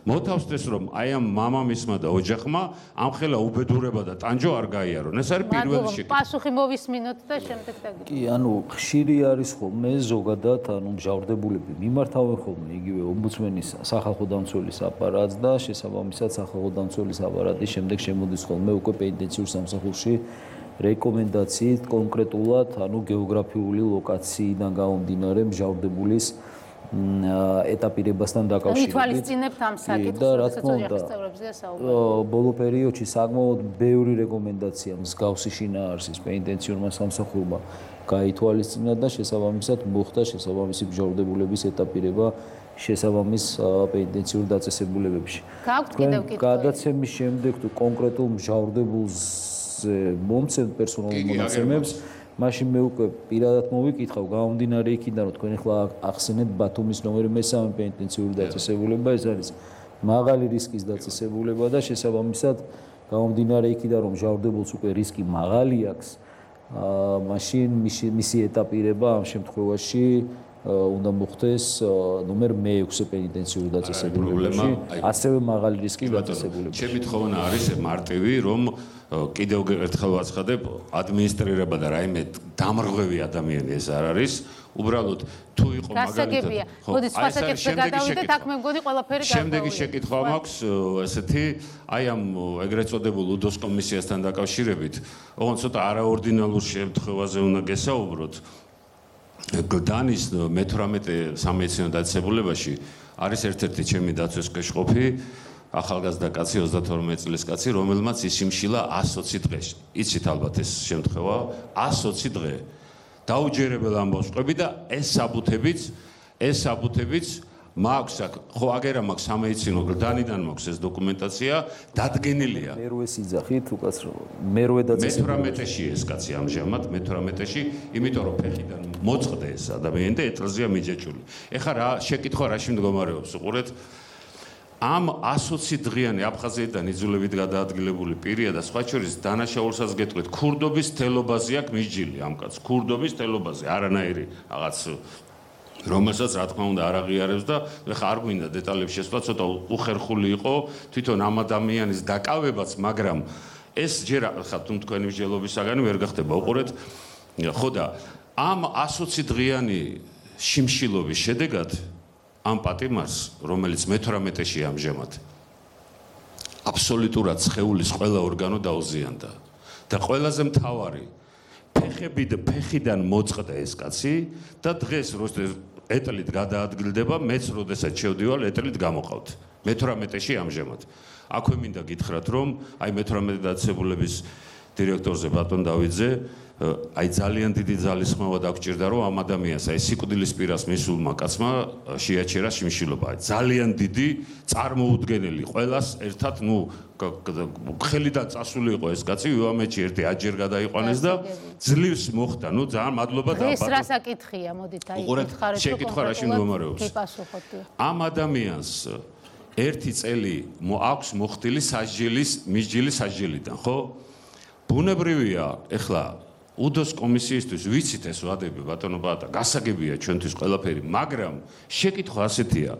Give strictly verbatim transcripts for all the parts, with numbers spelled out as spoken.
მოთავსდეს რომ აი ამ მამამისმა და ოჯახმა ამ ხელა უბედურება და ტანჯო არ გაიარონ. ეს არის პირველი შეკითხვა. პასუხი მოვისმინოთ და შემდეგ დაგიწყოთ. კი, ანუ ხშირი არის ხოლმე ზოგადად, ანუ მჟავრდებულები მიმართავენ ხოლმე იგივე ომბუდსმენის სახალხო დამცველის აპარატს და შესაბამისად სახალხო დამცველის აპარატის შემდეგ შემოდის ხოლმე უკვე პენიტენციურ სამსახურში რეკომენდაციით კონკრეტულად, ანუ გეოგრაფიული ლოკაციიდან გამომდინარე მჟავრდებულის ეტაპირებასთან დაკავშირებით. ითვალისწინებთ ამ საკითხს, და რა თქმა უნდა, ბოლო პერიოდში საკმაოდ ბევრი რეკომენდაცია მსგავსი შინაარსის პენიტენციურმა სამსახურმა გაითვალისწინა და შესაბამისად მოხდა შესაბამისი მჟავრდებულების ეტაპირება შესაბამის პენიტენციურ დაწესებულებებში. გაქვთ კიდევ კითხვა? გადაცემის შემდეგ თუ კონკრეტულ მჟავრდებულს მომცემ პერსონალურ მონაცემებს მაშინ მე უკვე პირადად მოვიკითხავ გამომდინარე იქიდან რომ თქვენ ახლა ახსენეთ ბათუმის ნომერი მესამე პენიტენციური დაწესებულება ეს არის მაღალი რისკის დაწესებულება და შესაბამისად გამომდინარე იქიდან რომ მჟავრდებულს უკვე რისკი მაღალი აქვს მაშინ მისი ეტაპირება ამ შემთხვევაში უნდა მოხდეს ნომერ მეექვსე პენიტენციური დაწესებულებაში ასევე მაღალი რისკის დაწესებულებაში. ჩემი თხოვნა არის მარტივი რომ კიდევ ერთხელ ვაცხადებ ადმინისტრირება და რაიმე დამრღვევი ადამიანი ეს არ არის უბრალოდ თუ იყო მაგალითად მოდი სხვა საკითხზე გადავიდეთ აქ მე მგონი ყველაფერი გავყოლია. შემდეგი შეკითხვა მაქვს ესეთი აი ამ ეგრეთ წოდებულ უდოს კომისიასთან დაკავშირებით ოღონდ ცოტა არაორდინალურ შემთხვევაზე უნდა გესაუბროთ. გლდანის მეთვრამეტე სამედიცინო დაწესებულებაში არის ერთ-ერთი ჩემი დაცვის კეშყოფი ახალგაზრდა კაცი ოცდათორმეტ წლის კაცი რომელმაც ისიმშილა ას ოცი დღე. იცით ალბათ ეს შემთხვევა ას ოცი დღე. დაუჯერებელ ამბავს ყვები და ეს საბუთებიც ეს საბუთებიც მაქვს აქ ხო აგერა მაქვს სამედიცინო გლდანიდან მაქვს ეს დოკუმენტაცია დადგენილია. მერვე სიძახით უკაცრავ მერვე დაწესებულებაში. მეთვრამეტეში ეს კაცი ამჟამად მეთვრამეტეში იმიტომ რომ ფეხიდან მოწყდა ეს ადამიანი და ეტლზეა მიჯაჭული. ეხლა რა შეკითხვა რაში მდგომარეობს უყურეთ ამ ას ოცი დღიანი აფხაზეთიდან იძულებით გადაადგილებული პირია და სხვა შორის დანაშაულსაც გეტყვით ქურდობის თელობაზე აქვს მიჯილი ამ კაცს ქურდობის თელობაზე არანაირი რაღაც რომელსაც რა თქმა უნდა არ აღიარებს და ეხლა არ გვინდა დეტალებში შესვლა ცოტა უხერხული იყო თვითონ ამ ადამიანის დაკავებაც მაგრამ ეს ჯერ ხა თუ თქვენი მსჯელობისაგანი ვერ გახდება უყურეთ ხო და ამ ას ოცი დღიანი შიმშილობის შედეგად ამ პატიმარს რომელიც მეთვრამეტეში ამჟამად აბსოლუტურად სხეულის ყველა ორგანო დაუზიანდა და ყველაზე მთავარი ფეხები და ფეხიდან მოწყდა ეს კაცი და დღეს როდესაც ეტლით გადაადგილდება მეც როდესაც შევდივალ ეტლით გამოყავთ მეთვრამეტეში ამჟამად აქვე მინდა გითხრათ რომ აი მეთვრამეტე დაწესებულების დირექტორზე ბატონ დავიძე აი ძალიან დიდი ძალისხმევა დაგჭირდა რომ ამ ადამიანს აი სიკვდილის პირას მისულმა კაცმა შეაჩერა შიმშილობა ძალიან დიდი წარმოუდგენელი ყველას ერთად ნუ ხელიდან წასული იყო ეს კაცი ვიამეთში ერთი აჯერ გადაიყვანეს და ძლივს მოხდა ნუ ძალიან მადლობა და ეს რა საკითხია მოდით აი გითხარით შეკითხვა რაში მდგომარეობს ამ ადამიანს ერთი წელი აქვს მოხდილი სასჯელის მისჯილი სასჯელიდან ხო ბუნებრივია ეხლა უდოს კომისიისთვის ვიცით ეს ვადები ბატონო ბატა გასაგებია ჩვენთვის ყველაფერი მაგრამ შეკითხვა ასეთია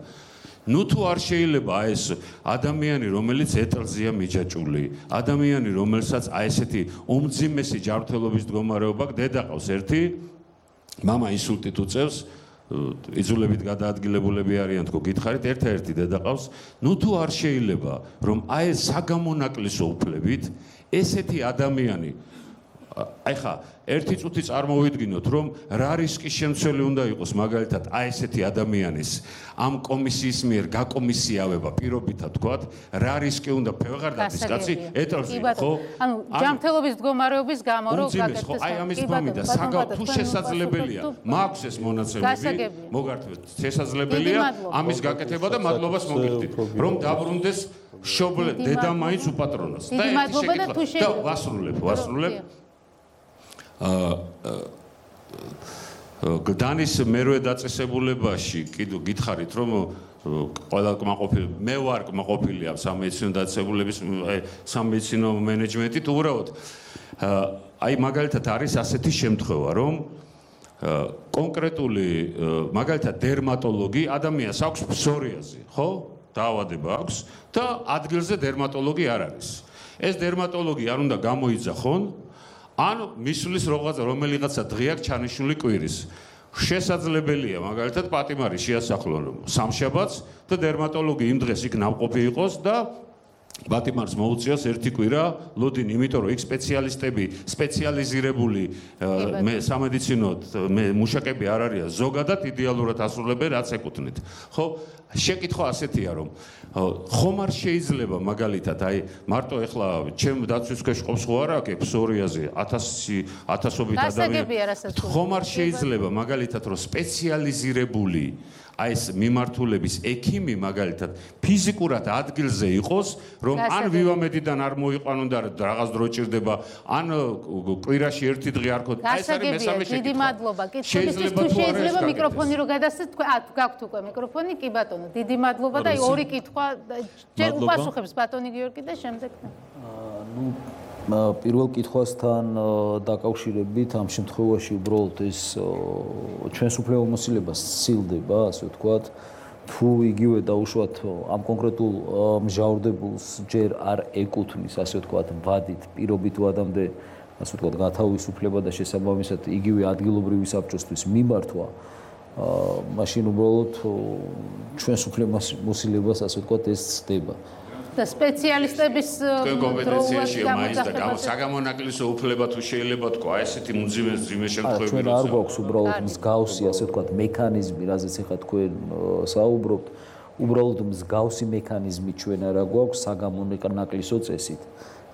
ნუ თუ არ შეიძლება ეს ადამიანი რომელიც ეტლზეა მიჯაჭული ადამიანი რომელსაც აი ესეთი უმძიმესი ჯანმრთელობის მდგომარეობა დედაყავს ერთი მამა ინსულტით უწევს იძულებით გადაადგილებულები არიან თქო გითხარით ერთ-ერთი დედაყავს ნუ თუ არ შეიძლება რომ აი ეს საგამონაკლისო უფლებით ესეთი ადამიანი აი ხა ერთი წუთი წარმოვიდგინოთ რომ რა რისკის შემცველი უნდა იყოს მაგალითად აი ესეთი ადამიანის ამ კომისიის მიერ გაკომისიავება პირობითად თქვათ რა რისკი უნდა ფევღარდაძის კაცი ეტლზე ხო ანუ ჯანმრთელობის მდგომარეობის გამო რომ გაკეთდეს ხო აი ამის მომიდა საგავ თუ შესაძლებელია მაქვს ეს მონაცემები მოგართვეთ შესაძლებელია ამის გაკეთება და მადლობას მოგიხდით რომ დაბრუნდეს შობლე დედა მაინც უპატრონოს და ერთი შეკითხვა და ვასრულებ ვასრულებ გლდანის მერვე დაწესებულებაში კიდევ გითხარით რომ ყველა კმაყოფილი მე ვარ კმაყოფილი ამ სამედიცინო დაწესებულების სამედიცინო მენეჯმენტით უბრალოდ აი მაგალითად არის ასეთი შემთხვევა რომ კონკრეტული მაგალითად დერმატოლოგი ადამიანს აქვს ფსორიაზი ხო დაავადება აქვს და ადგილზე დერმატოლოგი არ არის. ეს დერმატოლოგი არ უნდა გამოიძახონ, ან მისulis რაღაცა რომელიღაცა დღე აქვს ჩანიშნული კვირის. შესაძლებელია მაგალითად პატიმარი შეასახლონ სამშაბათს და დერმატოლოგი იმ დღეს იქ ნავყოფი იყოს და პატიმარს მოუწიოს ერთი კვირა ლოდინი, იმიტომ რომ იქ სპეციალისტები, სპეციალიზირებული მე სამედიცინო მუშაკები არ არიან, ზოგადად იდეალურად ასრულებენ რაც ეკუთვნით. ხო, შეკითხვა ასეთია რომ ხომ არ შეიძლება მაგალითად აი მარტო ეხლა ჩემ დაცვის ქვეშ ყოფს ხო არა აქ ფსორიაზე ათასი ათასობით ადამიანი ხომ არ შეიძლება მაგალითად რომ სპეციალიზირებული აი ეს მიმართულების ექიმი მაგალითად ფიზიკურად ადგილზე იყოს, რომ ან ვივამედიდან არ მოიყვანონ და რაღაც დრო ჭირდება, ან კვირაში ერთი დღე არ ქონდა. აი ეს არის მესამე შეკითხვა. დიდი მადლობა. კითხვის თუ შეიძლება მიკროფონი რო გადასცეთ, თქვენ ა გაქვთ უკვე მიკროფონი, კი ბატონო. დიდი მადლობა და აი ორი კითხვა ჯერ უპასუხებს ბატონი გიორგი და შემდეგ. ნუ პირველ კითხვასთან დაკავშირებით ამ შემთხვევაში უბრალოდ ეს ჩვენს უფლებამოსილებას სცილდება, ასე ვთქვათ, თუ იგივე დაუშვათ ამ კონკრეტულ მსჯავრდებულს ჯერ არ ეკუთვნის, ასე ვთქვათ, ვადით პირობით ვადამდე, ასე ვთქვათ, გათავისუფლება და შესაბამისად იგივე ადგილობრივი საბჭოსთვის მიმართვა, მაშინ უბრალოდ ჩვენს უფლებამოსილებას, ასე ვთქვათ, ეს ცდება. და სპეციალისტების კომპეტენციაშია მაინც და საგამონაკლისო უფლება თუ შეიძლება თქვა ესეთი მძიმე მძიმე შემთხვევები ჩვენ არ გვაქვს უბრალოდ მსგავსი ასე ვთქვათ მექანიზმი, რაზეც ახლა თქვენ საუბრობთ, უბრალოდ მსგავსი მექანიზმი ჩვენ არა გვაქვს საგამონაკლისო წესით.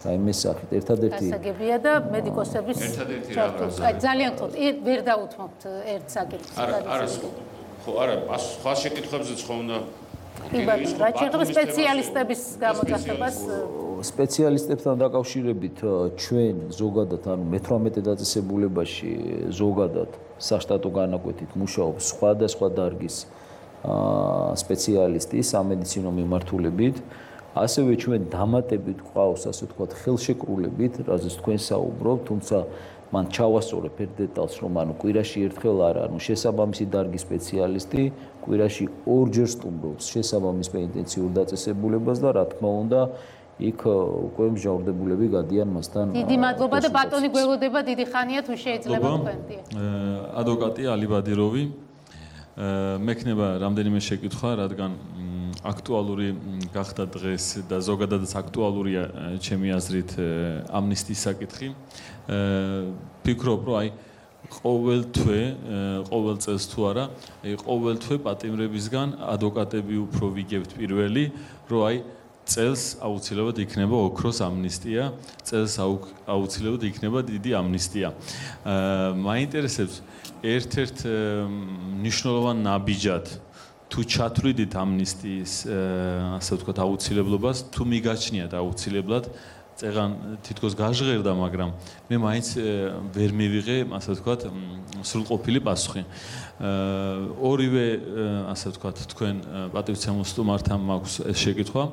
აი მე სახით ერთადერთი გასაგებია და მედიკოსების ერთადერთი რაღაც აი ძალიან გთხოვთ ვერ დაუთმობთ ერთ საკითხს. არა ხო არა სხვა შეკითხვებზეც ხო უნდა იბათ რა შეიძლება სპეციალისტების გამოძახებას სპეციალისტებთან დაკავშირებით ჩვენ ზოგადად ანუ მეთვრამეტე დაწესებულებაში ზოგადად საშტატო განაკვეთით მუშაობს სხვადასხვა დარგის სპეციალისტი სამედიცინო მიმართულებით ასევე ჩვენ დამატებით ყავს ასე ვთქვათ ხელშეკრულებით რაზეც თქვენ საუბრობთ თუმცა მან ჩავასწორებ ერთ დეტალს რომ ანუ კვირაში ერთხელ არა ანუ შესაბამისი დარგის სპეციალისტი კვირაში ორჯერ სტუმრობს შესაბამის პენიტენციურ დაწესებულებას და რა თქმა უნდა იქ უკვე მსჯავრდებულები გადიან მასთან დიდი მადლობა და ბატონი გველოდება დიდი ხანია თუ შეიძლება თქვენ ადვოკატი ალი ბადიროვი მექნება რამდენიმე შეკითხვა რადგან აქტუალური გახდა დღეს და ზოგადადაც აქტუალურია ჩემი აზრით ამნისტიის საკითხი ფიქრობ რომ აი ყოველ თვე ყოველ წელს თუ არა აი ყოველ თვე პატიმრებისგან ადვოკატები უფრო ვიგებთ პირველი რომ აი წელს აუცილებლად იქნება ოქროს ამნისტია წელს აუცილებლად იქნება დიდი ამნისტია მაინტერესებს ერთ-ერთ მნიშვნელოვან ნაბიჯად თუ ჩათვლიდით ამნისტიის ასე ვთქვათ აუცილებლობას თუ მიგაჩნიათ აუცილებლად წეგან თითქოს გაჟღერდა მაგრამ მე მაინც ვერ მივიღე ასე ვთქვათ სრულყოფილი პასუხი ორივე ასე ვთქვათ თქვენ პატივცემულ სტუმართან მაქვს ეს შეკითხვა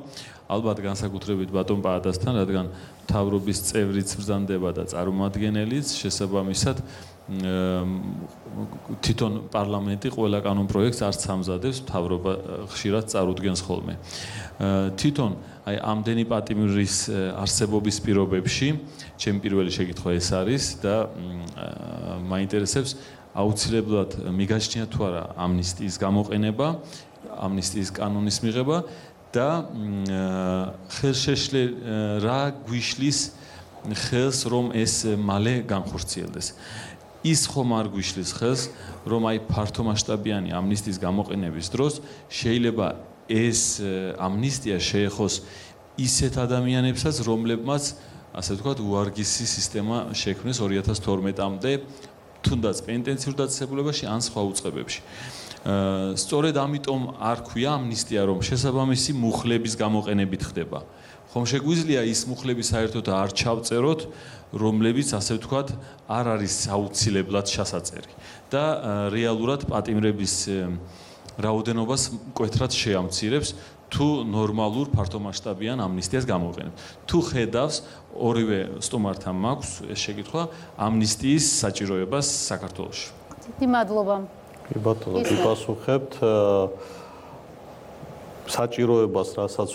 ალბათ განსაკუთრებით ბატონ პაადასთან რადგან მთავრობის წევრიც ბრძანდება და წარმომადგენელიც შესაბამისად თვითონ პარლამენტი ყველა კანონ პროექტს არც ამზადებს მთავრობა ხშირად წარუდგენს ხოლმე თვითონ აი ამდენი პატიმრის არსებობის პირობებში ჩემი პირველი შეკითხვა ეს არის და მაინტერესებს აუცილებლად მიგაჩნია თუ არა ამნისტიის გამოყენება ამნისტიის კანონის მიღება და ხელშეშლე რა გვიშლის ხელს რომ ეს მალე განხორციელდეს ის ხომ არ გვიშლის ხელს რომ აი ფართომასშტაბიანი ამნისტიის გამოყენების დროს შეიძლება ეს ამნისტია შეეხოს ისეთ ადამიანებსაც რომლებმაც ასე ვთქვათ უარგისი სისტემა შექმნეს ორი ათას თორმეტამდე თუნდაც პენიტენციურ დაწესებულებაში ან სხვა უწყებებში სწორედ ამიტომ არ ქვია ამნისტია რომ შესაბამისი მუხლების გამოყენებით ხდება ხომ შეგვიძლია ის მუხლები საერთოდ არ ჩავწეროთ რომლებიც ასე ვთქვათ არ არის აუცილებლად შესაძლებელი და რეალურად პატიმრების რაოდენობას მკვეთრად შეამცირებს თუ ნორმალურ ფართომასშტაბიან ამნისტიას გამოყენებთ თუ ხედავს ორივე სტუმართან მაქვს ეს შეკითხვა ამნისტიის საჭიროებას საქართველოში დიდი მადლობა კი ბატონო გიპასუხებთ საჭიროებას, რასაც